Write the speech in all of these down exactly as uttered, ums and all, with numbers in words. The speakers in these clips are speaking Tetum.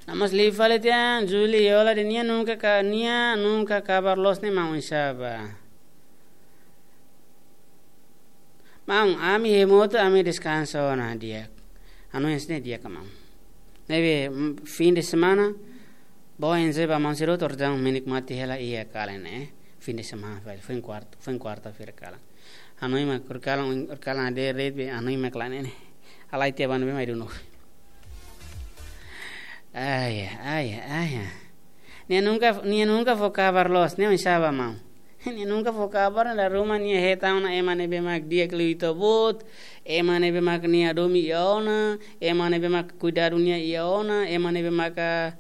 Namas liu fali tiha, Juli, hola, dehan nia nunka ka, nia nunka kabar loos ne'e maun, oinsá ba? Maun, ami iha motu, ami deskansa ona di'ak. Anu yang sini di'ak ka maun. Ne'ebé, mm, fim de semana, bom enjoy ba maun sira hotu, entaun menikmati hela iha kalan ne'e, eh. Fim de semana, fali, foin kuarta, foin kuarta-feira kalan. Hanoin mak, horikalan, horikalan hadeer de'it be, hanoin mak kalan ne'e. Halai tiha ba ne'ebé mai dunu. Ai, ai, ai, ai. Nia nunka, nia nunka fó kabar loos, ne'e oinsá ba maun. Nia nunka fó kabar, dala ruma nia hetan ona ema ne'ebé mak di'ak liu ita-boot, ema ne'ebé mak nia hadomi iha ona, ema ne'ebé mak kuidadu nia iha ona, ema ne'ebé mak, ah,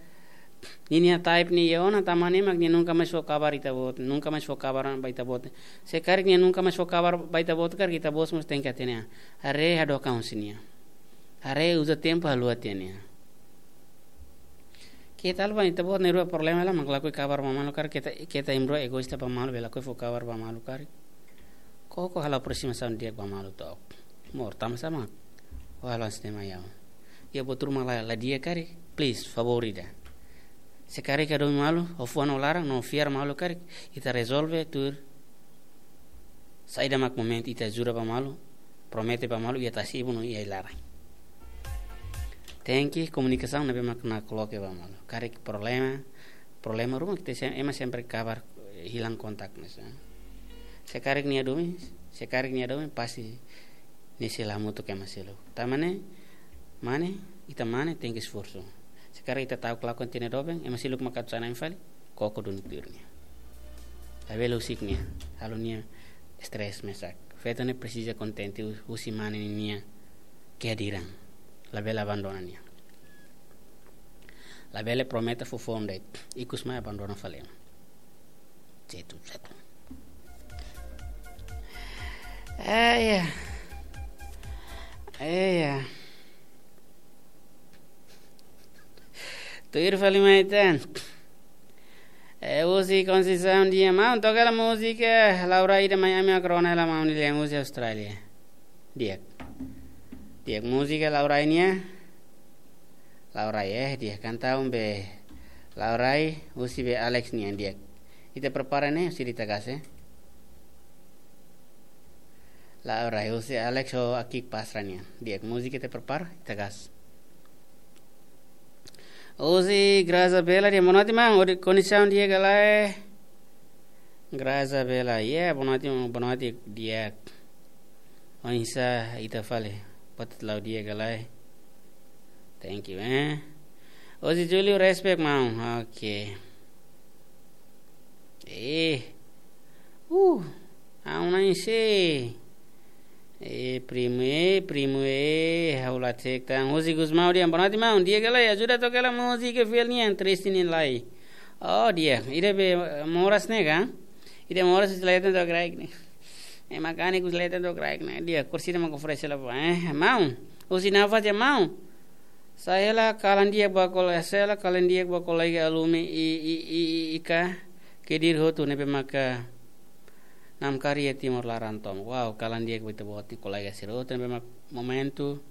ninia type nia iha ona, tanba ne'e mak nia nunka mais fó kabar ita-boot, nunka mais fó kabar ba ita-boot. Se karik nia nunka mais fó kabar ba ita-boot, karik ita-boot mós tenke hatene an. Haree hadook an husi nia. Haree uza tempu haluha tiha nia. Keta haluha, ita-boot na'in-rua problema hela mak lakohi kabar ba malu karik, keta, keta imi-rua egoísta ba malu, bele lakohi fó kabar ba malu karik. Koko halo aproximasaun di'ak ba malu took. Mós, tanba sá mak ó halo hanesan ne'e mai ha'u? Iha buat ruma la, la di'ak karik, please, favór ida. Se karik hadomi malu, ó fuan ó laran, no fiar malu karik, ita rezolve tuir saida mak momentu ita ajuda ba malu, promete ba malu, iha tasi-ibun no iha ai-laran. Tenke komunikasaun ne'ebé mak nakloke ba malu. Karik problema, problema ruma ita sem-, ema sempre kabar, eh, hilang kontak mesa. Se karik nia hadomi, se karik nia hadomi, pasti nia sei la hamutuk ema seluk. Tanba ne'e, mane, ita mane, tenke esforsu. Se karik ita ta'uk lakon tiha nia doben, ema seluk mak atu sai na'in fali, koko duni tuir nia. Labele husik nia, halo nia stress mesak. Feto ne'e presiza kontente hu-, husi mane ninia kehadiran. Labele abandona nia. Labele promete fó foun de'it, ikus mai abandona fali. Setu, setu. Ai, ya. Ai, ya. Tuir fali mai tan. Eh, husi Conceição dehan, maun, toka hela múzika Laurai ida mai ami mak rona hela maun, nia lian husi Austrália. Di'ak. Di'ak, múzika Laurai nian. Laurai, eh, di'ak, kantaun be Laurai, husi be Alex nian, di'ak. Ita prepara ne'e, husi ita gas, eh. Laurai, husi Alex ho Akik Pastra nian. Di'ak, múzika ita prepara, ita gas. Husi Graza Bela dehan, boa noite, maun. Odi kondisaun di'ak ka lae? Graza Bela, yeah, boa noite, boa noite, di'ak. Oinsá ita fali, buat la'o di'ak ka lae? Thank you, eh. Husi Julio, respect, maun. Oke. Eh. Uh. Ha'u na'in sei. Eh, primu, eh, primu, eh, ha'u la cek tan. Husi Gusmão dehan, boa noite, maun. Di'ak ka lae, ajuda toka hela múzika fiel nian, triste nian lai. Oh, di'ak. Ida be, eh, moras ne'e ka? Ida moras husi leten to'o kraik ne'e. Eh, makani kus leten to'o kraik ne'e. Di'ak, kursi ida mak oferese hela ba, eh, maun. Husi Nafa dehan, maun. Sai hela kalan di'ak ba kole-, sai hela kalan di'ak ba kolega alumni i, i, i, i, ika Kedir hotu ne'ebé maka namkari iha Timor laran tomak. Wow, kalan di'ak ba ita-boot nia kolega sira hotu ne'ebé mak momentu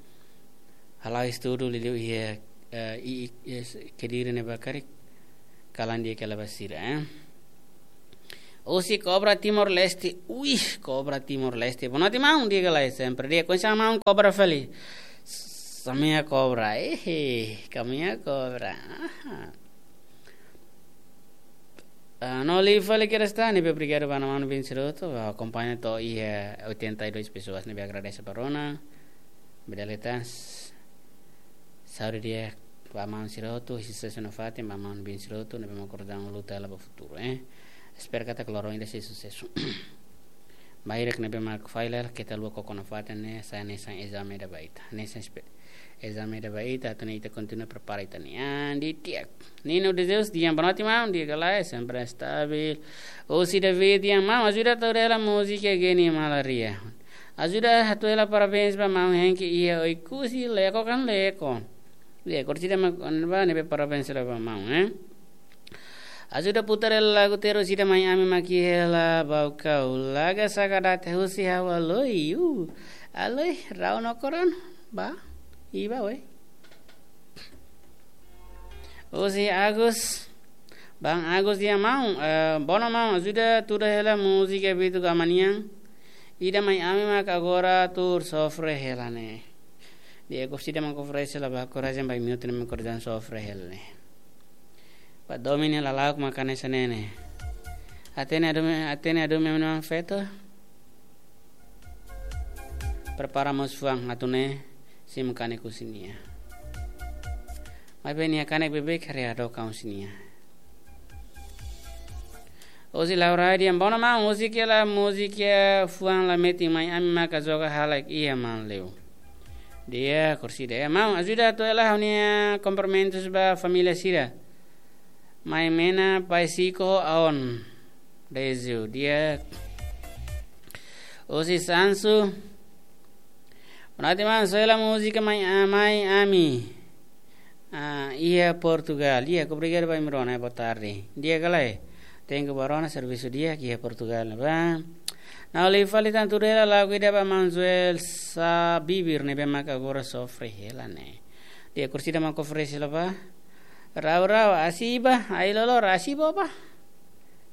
hala'o estudu liuliu iha, eh, i, i, i, Kedir ne'ebá karik. Kalan di'ak hela ba sira, eh. Husi Cobra Timor-Leste. Uih, Cobra Timor-Leste. Boa noite, maun. Di'ak ka lae, sempre di'ak. Oinsá maun, Cobra fali? Samea Cobra. Eh, kamea Cobra. Aha. Ah, no liu fali kedas tan, ne'ebé obrigadu ba maun-alin sira hotu, ba akompaña to'o iha oitenta e dois pessoas, ne'ebé agradese ba rona. Bele dehan, saúde di'ak ba maun sira hotu, susesu nafatin ba maun-alin sira hotu, ne'ebé mak kordang luta hela ba futuru, eh. Espera katak loron ida sei susesu. Bainhira ne'ebé mak fail hela, keta haluha koko nafatin ne'e, sai hanesan ezame ida ba ita. Hanesan espe-, ezame ida ba ita, atu nune'e ita kontinua prepara ita-nia an di'ak. Nino de Deus dehan, boa noite, maun, di'ak ka lae, sempre stabil. Husi David dehan, maun, ajuda hato'o hela múzika Geni Malaria. Ajuda hato'o hela parabéns ba maun Henki iha Oekusi, Leko kan Leko. Di'ak, kursi ida mak, ba, ne'ebé parabéns hela ba maun, eh. Ajuda putar hela lagu terus ida mai ami mak iha hela Baucau. Laga saka date husi ha'u Aloi, uh. Aloi, rau no koron, ba, iba, we. Husi Agus, Bang Agus, di'ak maun, eh, bono maun, ajuda tuda hela múzika Bitu Gama nian. Ida mai ami mak agora tuur sofre hela ne'e. Di'ak, kursi ida mak oferese hela ba korajen ba imi hotu ne'ebé korajen sofre hela ne'e. Ba domin hela lauk mak hanesan ne'e ne'e. Hatene adu-, hatene adu memang feto. Prepara mós fuan atu ne'e, simu kanek husi nia. Maibé nia kanek beibeik haree hadook husi nia. Husi Laura, di'ak, bono maun, husi kela múzika fuan la metin mai ami maka joga halak iha Manleu. Di'ak, kursi ida. Maun, ajuda atu hela ha'u-nia kumprimentus ba família sira. Mai Mena, Pai Siko, Aon. Dezu, di'ak. Husi Sansu. Boa noite, maun, só hela múzika mai, ah, mai ami. Ah, iha Portugal. Di'ak, obrigadu ba imi rona, boa tarde. Di'ak ka lae? Tenke ba rona servisu di'ak iha Portugal, ba. Ha'u hili fali tan tuur hela lagu ida ba maun Joel Sabibir ne'ebé mak agora sofre hela ne'e. Di'ak, kursi ida mak oferese hela ba. Rau rau, asi ba, ai lolor, asi ba ba.